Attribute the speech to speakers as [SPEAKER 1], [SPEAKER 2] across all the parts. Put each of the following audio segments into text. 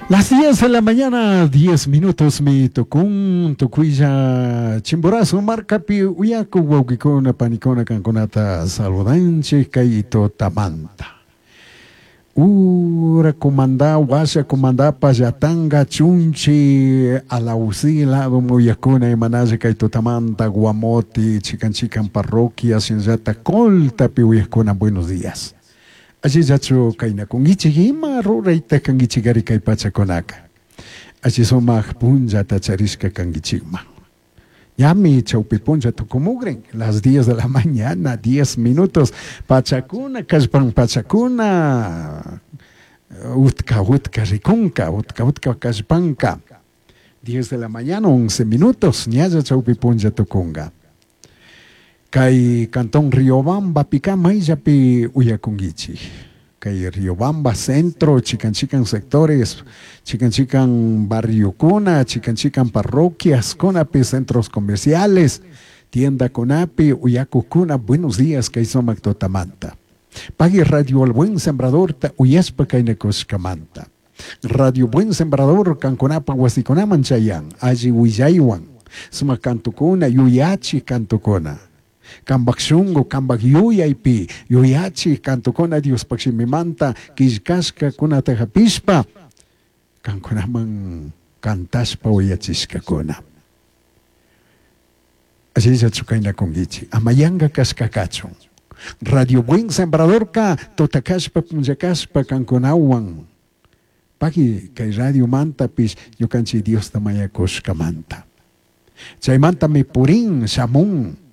[SPEAKER 1] Las 10 de la mañana, 10 minutos mi tukun tukuylla Chimborazo markapi uyaku wawqikuna panikuna kankunata saludanchik kay tutamanta. Ura kumanda washa kumandapash yatanga chunchi Alausí lado uyakuna imanalla kay tutamanta Guamoti chikan chikan parroquia shinallata Coltapi uyakuna buenos días. Allillachu kaynakunkichik ima rurayta kankichikari kay pachakunaka. Alli sumak punllata charishka kankichikman. Ñami chawpi punlla tukumukrin, las 10 de la mañana, 10 minutos, pachakuna, kallpan pachakuna, utka utka rikunka, utka utka kallpanka. 10 de la mañana, 11 minutos, ñalla chawpi punlla tukunga. Kay cantón Riobamba pika mayllapi uyakunkichik. Kay Riobamba centro, chikan chikan sectores, chikan chikan barriokuna, chikan chikan parroquias, kunapi centros comerciales, tienda kunapi, uyakukuna, buenos días, kay sumak tutamanta. Pagui Radio El Buen Sembrador ta uyashpa kaynakushkamanta. Radio Buen Sembrador kankunapa wasikunaman chayan, alli willaywan, sumak kantukuna, yuyachi kantukuna. Kambak shungu, kambak yuyaypi, yuyachi kantukuna Diospaq shimimanta killkashka kunata hapishpa, kankunaman kantashpa uyachishkakuna. Allillachu kaynakunkichik, ama yanka kashka kachun. Radio Buen Sembradorka tutakashpa punllakashpa kankunawan. Pagui kay radio mantapish ñukanchik Diosta mañakushkamanta. Chaymantami purin shamun.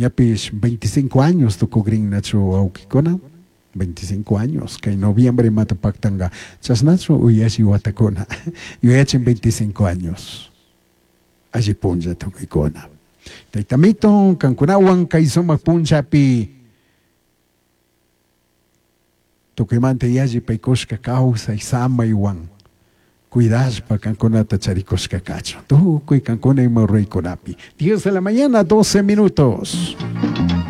[SPEAKER 1] Ñapish 25 años tukukrinnachu wawqikuna, 25 años, kay noviembre mata paktanga, chasnachu uyashi watakuna, yuyachin 25 años. Alli punlla tukuykuna. Taytamito, kankunawan kay sumak punllapi tukuymanta yalli paykushka kawsay samaywan cuidashpa kankunata charikushka kachun. Tukuy kankuna ima ruraykunapi. 10 de la mañana, 12 minutos.